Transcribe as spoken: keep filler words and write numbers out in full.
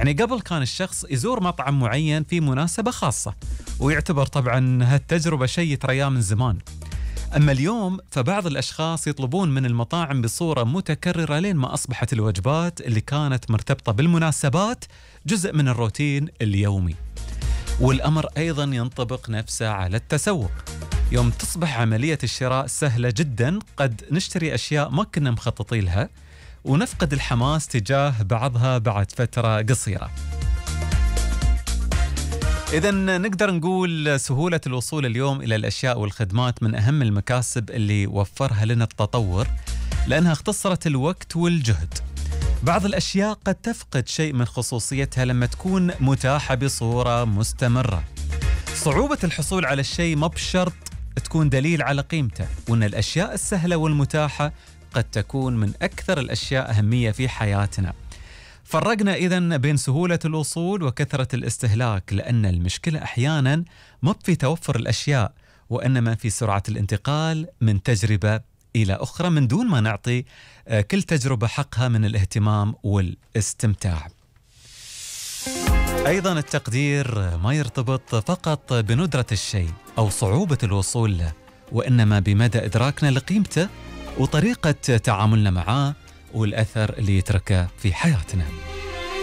يعني قبل كان الشخص يزور مطعم معين في مناسبة خاصة ويعتبر طبعا هالتجربة شيء يترياه من زمان. أما اليوم فبعض الأشخاص يطلبون من المطاعم بصورة متكررة لين ما أصبحت الوجبات اللي كانت مرتبطة بالمناسبات جزء من الروتين اليومي. والأمر أيضا ينطبق نفسه على التسوق. يوم تصبح عملية الشراء سهلة جدا قد نشتري أشياء ما كنا مخططين لها ونفقد الحماس تجاه بعضها بعد فترة قصيرة. إذن نقدر نقول سهولة الوصول اليوم إلى الأشياء والخدمات من أهم المكاسب اللي وفرها لنا التطور، لأنها اختصرت الوقت والجهد. بعض الأشياء قد تفقد شيء من خصوصيتها لما تكون متاحة بصورة مستمرة. صعوبة الحصول على الشيء ما بشرط تكون دليل على قيمته، وأن الأشياء السهلة والمتاحة قد تكون من أكثر الأشياء أهمية في حياتنا. فرقنا إذن بين سهولة الوصول وكثرة الاستهلاك، لأن المشكلة أحيانا ما في توفر الأشياء وإنما في سرعة الانتقال من تجربة إلى أخرى من دون ما نعطي كل تجربة حقها من الاهتمام والاستمتاع. أيضا التقدير ما يرتبط فقط بندرة الشيء أو صعوبة الوصول له، وإنما بمدى إدراكنا لقيمته وطريقة تعاملنا معاه والأثر اللي يتركه في حياتنا.